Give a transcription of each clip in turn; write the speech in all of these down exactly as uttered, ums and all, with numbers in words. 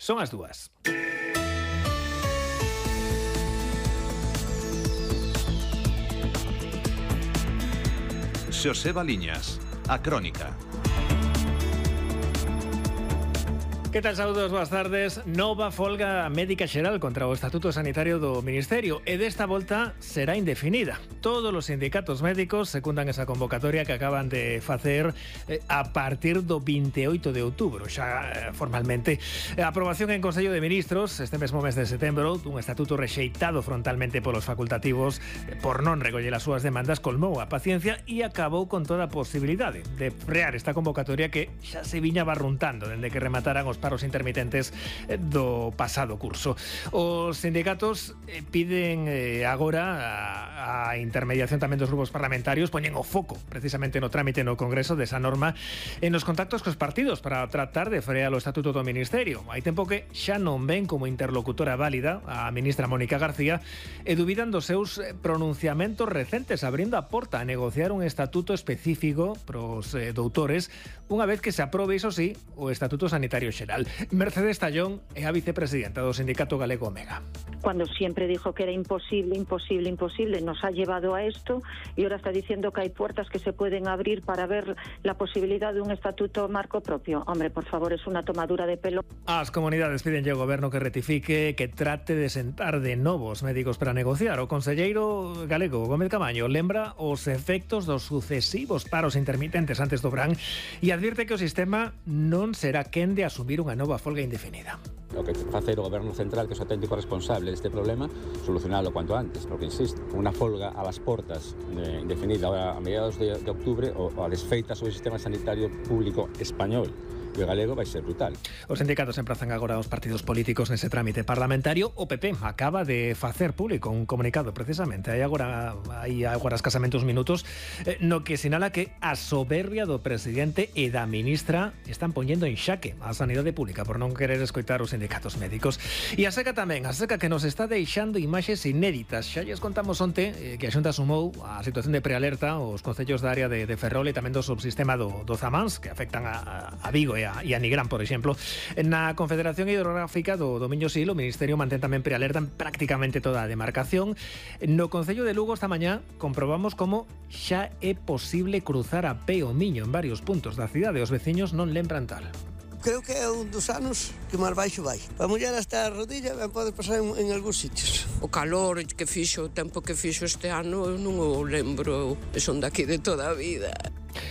Son as dúas. Xosé Baliñas, a Crónica. Que tal, saúdos, boas tardes. Nova folga médica xeral contra o Estatuto Sanitario do Ministerio e desta volta será indefinida. Todos os sindicatos médicos secundan esa convocatoria que acaban de facer eh, a partir do vinte e oito de outubro, xa eh, formalmente. A aprobación en Consello de Ministros este mesmo mes de setembro dun estatuto rexeitado frontalmente polos facultativos eh, por non recoller as súas demandas colmou a paciencia e acabou con toda a posibilidade de frear esta convocatoria que xa se viña barruntando dende que remataran os paros intermitentes do pasado curso. Os sindicatos piden eh, agora a, a intermediación tamén dos grupos parlamentarios, poñen o foco precisamente no trámite no Congreso desa norma en os contactos cos partidos para tratar de frear o Estatuto do Ministerio. Hai tempo que xa non ven como interlocutora válida a ministra Mónica García e dubidan dos seus pronunciamentos recentes abrindo a porta a negociar un estatuto específico pros eh, doutores unha vez que se aprobe, iso sí, o Estatuto Sanitario Xeral. Mercedes Tallón é a vicepresidenta do Sindicato Galego Omega. Cuando siempre dijo que era imposible, imposible, imposible, nos ha llevado a esto y ahora está diciendo que hay puertas que se pueden abrir para ver la posibilidad de un estatuto marco propio. Hombre, por favor, es una tomadura de pelo. As comunidades piden ao goberno que rectifique, que trate de sentar de novos médicos para negociar. O conselleiro galego Gómez Camaño lembra os efectos dos sucesivos paros intermitentes antes do verán e advirte que o sistema non será quen de asumir unha nova folga indefinida. O que facer o goberno central, que é o auténtico responsable deste problema, solucionalo cuanto antes, porque insisto, unha folga a las portas eh, indefinida a mediados de, de octubre ou a desfeita sobre o sistema sanitario público español e o galego vai ser brutal. Os sindicatos emprazan agora os partidos políticos nese trámite parlamentario. O P P acaba de facer público un comunicado precisamente hai agora hai agora escasamente uns minutos eh, no que sinala que a soberbia do presidente e da ministra están poñendo en xaque a sanidade pública por non querer escoitar os sindicatos médicos. E a seca tamén, a seca que nos está deixando imaxes inéditas. Xa lles contamos onte eh, que a Xunta sumou a situación de prealerta os concellos da área de, de Ferrol e tamén do subsistema do, do Zamáns que afectan a, a Vigo e a, e a Nigrán, por exemplo. Na Confederación Hidrográfica do, do Miño-Sil, o Ministerio mantén tamén prealerta en prácticamente toda a demarcación. No Concello de Lugo esta mañá comprobamos como xa é posible cruzar a pé o Miño en varios puntos da cidade. Os veciños non lembran tal. Creo que é un dos anos que máis baixo vai. Para mulher hasta a rodilla ben pode pasar en, en algúns sitios. O calor que fixo, o tempo que fixo este ano, eu non o lembro, eu son daqui de toda a vida.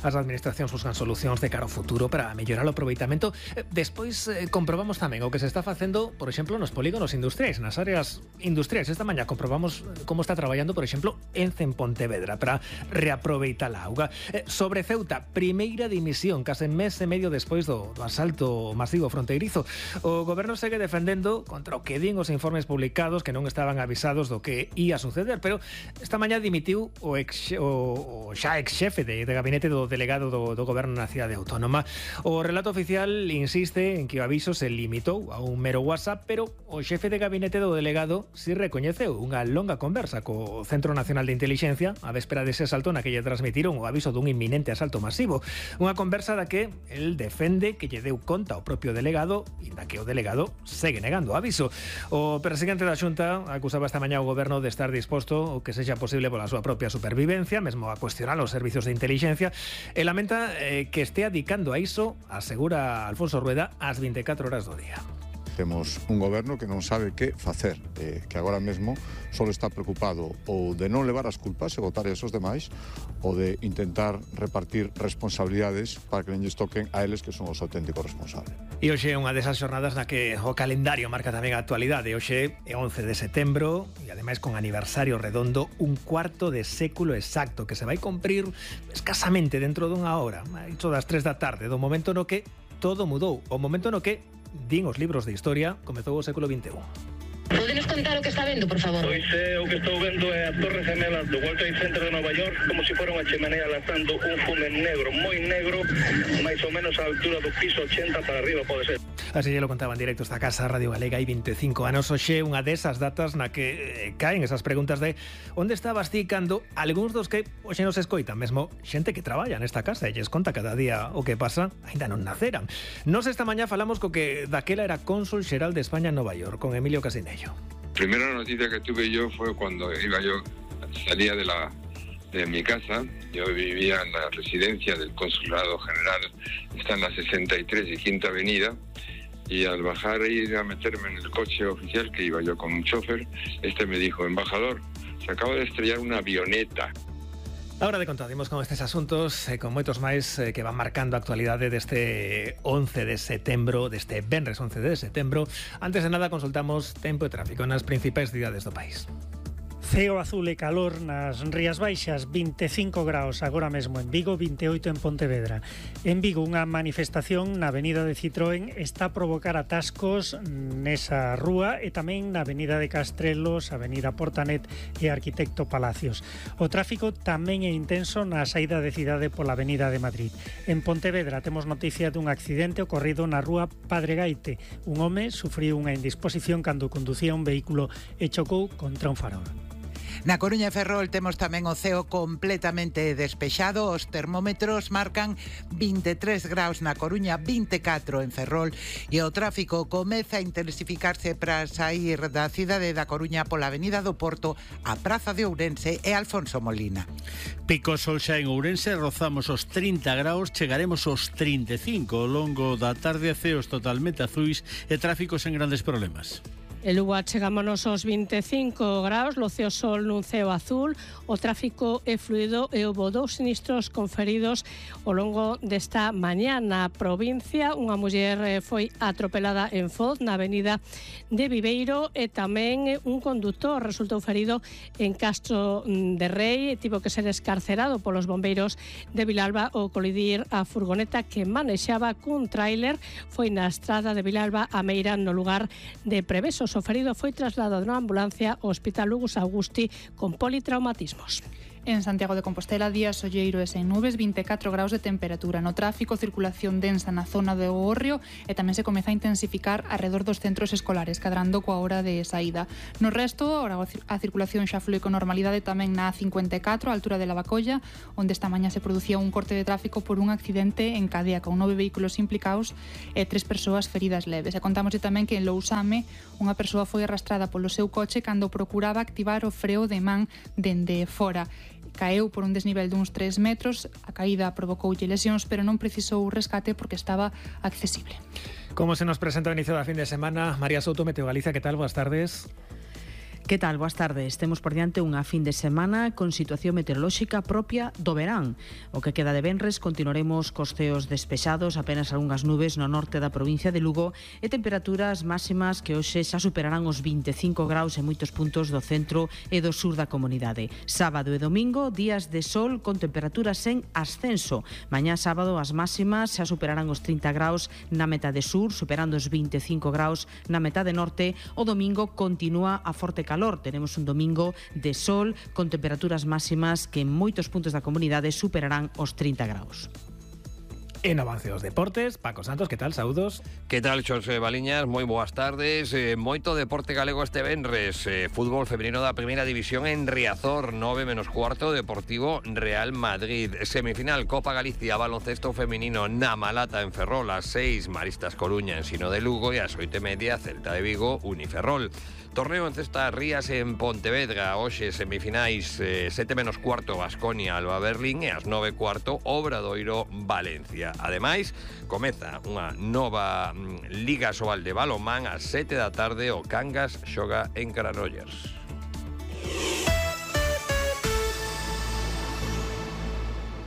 As administracións buscan solucións de cara ao futuro para mellorar o aproveitamento. Despois eh, comprobamos tamén o que se está facendo, por exemplo, nos polígonos industriais, nas áreas industriais. Esta mañá comprobamos como está traballando, por exemplo, Ence en Pontevedra para reaproveitar a auga. Eh, sobre Ceuta, primeira dimisión, case mes e medio despois do, do asalto masivo fronteirizo. O goberno segue defendendo contra o que din os informes publicados que non estaban avisados do que ia suceder, pero esta mañá dimitiu o, ex, o, o xa ex xefe de, de gabinete do delegado do, do goberno na cidade autónoma. O relato oficial insiste en que o aviso se limitou a un mero WhatsApp, pero o xefe de gabinete do delegado si recoñeceu unha longa conversa co Centro Nacional de Intelixencia a véspera dese asalto na que lle transmitiron o aviso dun inminente asalto masivo. Unha conversa da que el defende que lle deu conta ao propio delegado e da que o delegado segue negando o aviso. O presidente da Xunta acusaba esta mañá o goberno de estar disposto o que sexa posible pola súa propia supervivencia, mesmo a cuestionar os servizos de inteligencia. E lamenta eh, que estea dedicando a iso, asegura Alfonso Rueda, as vinte e catro horas do día. Temos un goberno que non sabe que facer, eh, que agora mesmo só está preocupado ou de non levar as culpas e botar esos demais ou de intentar repartir responsabilidades para que non lles toquen a eles que son os auténticos responsables. E hoxe é unha desas xornadas na que o calendario marca tamén a actualidade. Hoxe é once de setembro e ademais con aniversario redondo, un cuarto de século exacto que se vai cumprir escasamente dentro dunha hora, iso das tres da tarde, do momento no que todo mudou, o momento no que din os libros de historia, comezou o século vinte e un. Podenos contar o que está vendo, por favor? Pois é, o que estou vendo é a Torre Gemela do World Trade Center de Nova York, como se fora unha chimenea lanzando un fume negro, moi negro, máis ou menos á altura do piso ochenta para arriba, pode ser. Así ya lo contaba en directo esta casa Radio Galega, hai veinticinco anos. Oxe, unha desas datas na que caen esas preguntas de onde estabas ti cando algúns dos que hoxe nos escoitan, mesmo xente que traballa nesta casa e lles conta cada día o que pasa, ainda non naceran. Nos esta mañá falamos co que daquela era cónsul xeral de España en Nova York, con Emilio Casinello. Primera noticia que tuve yo fue cuando iba yo, salía de la de mi casa. Yo vivía en la residencia del Consulado General, está en la sesenta y tres y Quinta Avenida, y al bajar e ir a meterme en el coche oficial, que iba yo con un chofer, este me dijo: embajador, se acaba de estrellar una avioneta. Ahora de contar, dimos con estes asuntos e eh, con moitos máis eh, que van marcando a actualidade deste once de setembro, deste venres once de setembro. Antes de nada, consultamos tempo e tráfico nas principais cidades do país. Ceo azul e calor nas Rías Baixas, veinticinco graus agora mesmo en Vigo, veintiocho en Pontevedra. En Vigo, unha manifestación na avenida de Citroën está a provocar atascos nesa rúa e tamén na avenida de Castrelos, avenida Portanet e Arquitecto Palacios. O tráfico tamén é intenso na saída de cidade pola avenida de Madrid. En Pontevedra temos noticia dun accidente ocorrido na rúa Padre Gaite. Un home sufriu unha indisposición cando conducía un vehículo e chocou contra un farol. Na Coruña e Ferrol temos tamén o ceo completamente despexado. Os termómetros marcan veintitrés graus na Coruña, veinticuatro en Ferrol, e o tráfico comeza a intensificarse para sair da cidade da Coruña pola avenida do Porto, a Praza de Ourense e Alfonso Molina. Pico sol xa en Ourense, rozamos os trinta graus, chegaremos aos trinta e cinco. Ao longo da tarde, ceos totalmente azuis e tráficos en grandes problemas. En Lugo chegámonos aos veinticinco graus, loceo sol nun ceo azul, o tráfico é fluido e houve dous sinistros conferidos ao longo desta mañá na provincia. Unha muller foi atropelada en Foz, na avenida de Viveiro, e tamén un condutor resultou ferido en Castro de Rei e tivo que ser escarcerado polos bombeiros de Vilalba ao colidir a furgoneta que manexaba cun tráiler. Foi na estrada de Vilalba a Meira, no lugar de Prevesos. O ferido foi trasladado na ambulancia ao Hospital Lugus Augusti con politraumatismos. En Santiago de Compostela, día solleiro e sen nubes, veinticuatro graus de temperatura. No tráfico, circulación densa na zona do Gorrio e tamén se comeza a intensificar arredor dos centros escolares, cadrando coa hora de saída. No resto, a circulación xa flúe con normalidade tamén na A cincuenta e catro, a altura de Lavacolla, onde esta mañá se producía un corte de tráfico por un accidente en cadea con nove vehículos implicados e tres persoas feridas leves. E contámoslle tamén que en Lousame unha persoa foi arrastrada polo seu coche cando procuraba activar o freo de man dende fora. Caeu por un desnivel duns tres metros, a caída provocoulle lesións, pero non precisou rescate porque estaba accesible. Como se nos presenta o inicio da fin de semana, María Souto, Meteo Galicia, que tal? Boas tardes. Que tal? Boas tardes. Temos por diante unha fin de semana con situación meteorolóxica propia do verán. O que queda de venres continuaremos cos ceos despexados, apenas algunhas nubes no norte da provincia de Lugo e temperaturas máximas que hoxe xa superarán os veinticinco graus en moitos puntos do centro e do sur da comunidade. Sábado e domingo, días de sol con temperaturas en ascenso. Mañá sábado as máximas xa superarán os trinta graus na metade sur, superando os veinticinco graus na metade norte. O domingo continúa a forte calor. Tenemos un domingo de sol con temperaturas máximas que en moitos puntos da comunidade superarán os trinta graus. En avance dos deportes, Paco Santos, que tal? Saúdos. Que tal, Xosé Baliñas? Moi boas tardes. Eh, moito deporte galego este venres. Eh, fútbol femenino da primeira división en Riazor, nove menos cuarto, Deportivo Real Madrid. Semifinal Copa Galicia, baloncesto femenino na Malata en Ferrol, a seis, Maristas Coruña en Sino de Lugo e a oito e media, Celta de Vigo, Uniferrol. Torneo en cesta Rías en Pontevedra, hoxe semifinais eh, sete menos cuarto Baskonia Alba Berlín e as nove cuarto Obradoiro Valencia. Ademais, comeza unha nova mm, Liga Sobal de balonmán ás sete da tarde, o Cangas xoga en Granollers.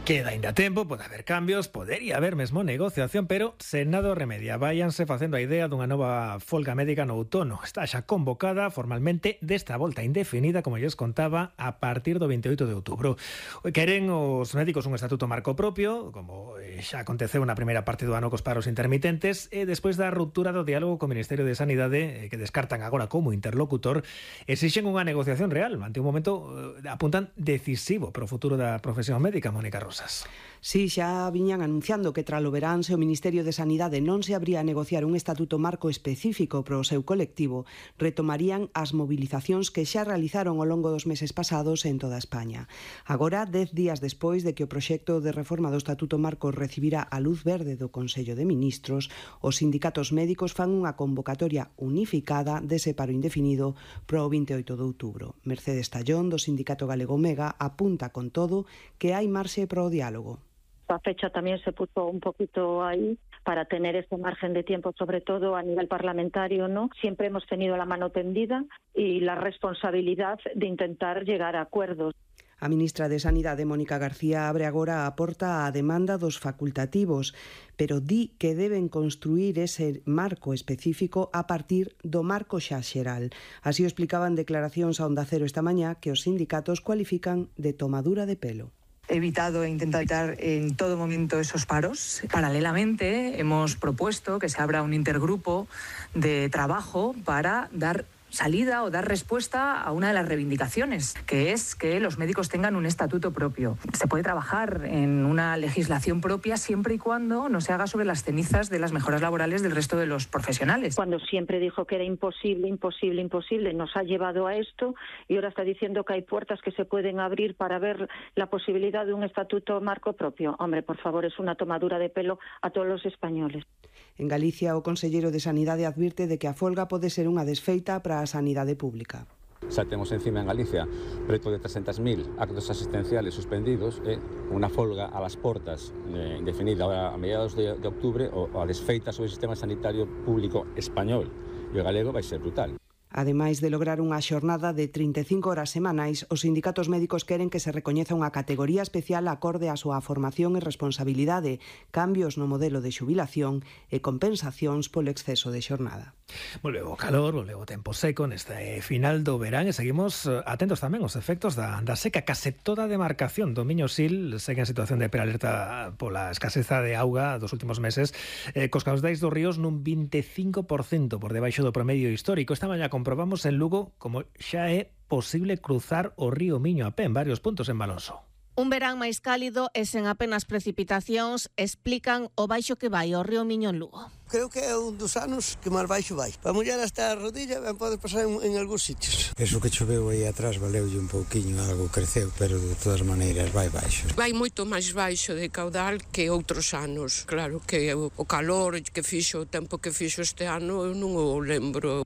Queda ainda tempo, pode haber cambios, podería haber mesmo negociación, pero sen nada remedia. Váyanse facendo a idea dunha nova folga médica no outono. Está xa convocada formalmente desta volta indefinida, como lles contaba, a partir do veintioito de outubro. Queren os médicos un estatuto marco propio, como xa aconteceu na primeira parte do ano cos paros intermitentes, e despois da ruptura do diálogo co Ministerio de Sanidade, que descartan agora como interlocutor, exixen unha negociación real ante un momento, apuntan, decisivo para o futuro da profesión médica, Mónica Rosa. cousas. Sí, xa viñan anunciando que tralo verán se o Ministerio de Sanidade non se abría a negociar un estatuto marco específico para o seu colectivo, retomarían as mobilizacións que xa realizaron ao longo dos meses pasados en toda España. Agora, dez días despois de que o proxecto de reforma do estatuto marco recibira a luz verde do Consello de Ministros, os sindicatos médicos fan unha convocatoria unificada dese paro indefinido para o vinte e oito de outubro. Mercedes Tallón, do sindicato galego Mega, apunta con todo que hai marxe para o diálogo. La fecha también se puso un poquito ahí para tener ese margen de tiempo, sobre todo a nivel parlamentario, ¿no? Siempre hemos tenido la mano tendida y la responsabilidad de intentar llegar a acuerdos. A ministra de Sanidade, Mónica García, abre agora a porta á demanda dos facultativos, pero di que deben construir ese marco específico a partir do marco xa xeral. Así o explicaban declaracións a Onda Cero esta mañá que os sindicatos cualifican de tomadura de pelo. Evitado e intentado evitar en todo momento esos paros. Paralelamente, hemos propuesto que se abra un intergrupo de trabajo para dar salida o dar respuesta a una de las reivindicaciones, que es que los médicos tengan un estatuto propio. Se puede trabajar en una legislación propia siempre y cuando no se haga sobre las cenizas de las mejoras laborales del resto de los profesionales. Cuando siempre dijo que era imposible, imposible, imposible, nos ha llevado a esto y ahora está diciendo que hay puertas que se pueden abrir para ver la posibilidad de un estatuto marco propio. Hombre, por favor, es una tomadura de pelo a todos los españoles. En Galicia, o conselleiro de Sanidade advirte de que a folga pode ser unha desfeita para a sanidade pública. Xa temos encima en Galicia preto de trescentos mil actos asistenciales suspendidos e unha folga a las portas eh, indefinida ahora a mediados de, de octubre o, o a desfeita sobre o sistema sanitario público español. E o galego vai ser brutal. Ademais de lograr unha xornada de trinta e cinco horas semanais, os sindicatos médicos queren que se recoñeza unha categoría especial acorde á súa formación e responsabilidade, cambios no modelo de xubilación e compensacións polo exceso de xornada. Volveu o calor, volveu o tempo seco neste final do verán e seguimos atentos tamén aos efectos da, da seca. Case toda a demarcación do Miño Sil segue en situación de prealerta pola escaseza de auga dos últimos meses, eh, cos caudais dos ríos nun vinte e cinco por cento por debaixo do promedio histórico. Esta mañá comprobamos en Lugo como xa é posible cruzar o río Miño a pé en varios puntos en Balonso. Un verán máis cálido e sen apenas precipitacións explican o baixo que vai o río Miño en Lugo. Creo que é un dos anos que máis baixo vai. Para mullar hasta a rodilla ben pode pasar en, en algúns sitios. Eso que choveu aí atrás valeulle un pouquiño, algo creceu, pero de todas maneiras vai baixo. Vai moito máis baixo de caudal que outros anos. Claro que o calor que fixo, o tempo que fixo este ano, eu non o lembro.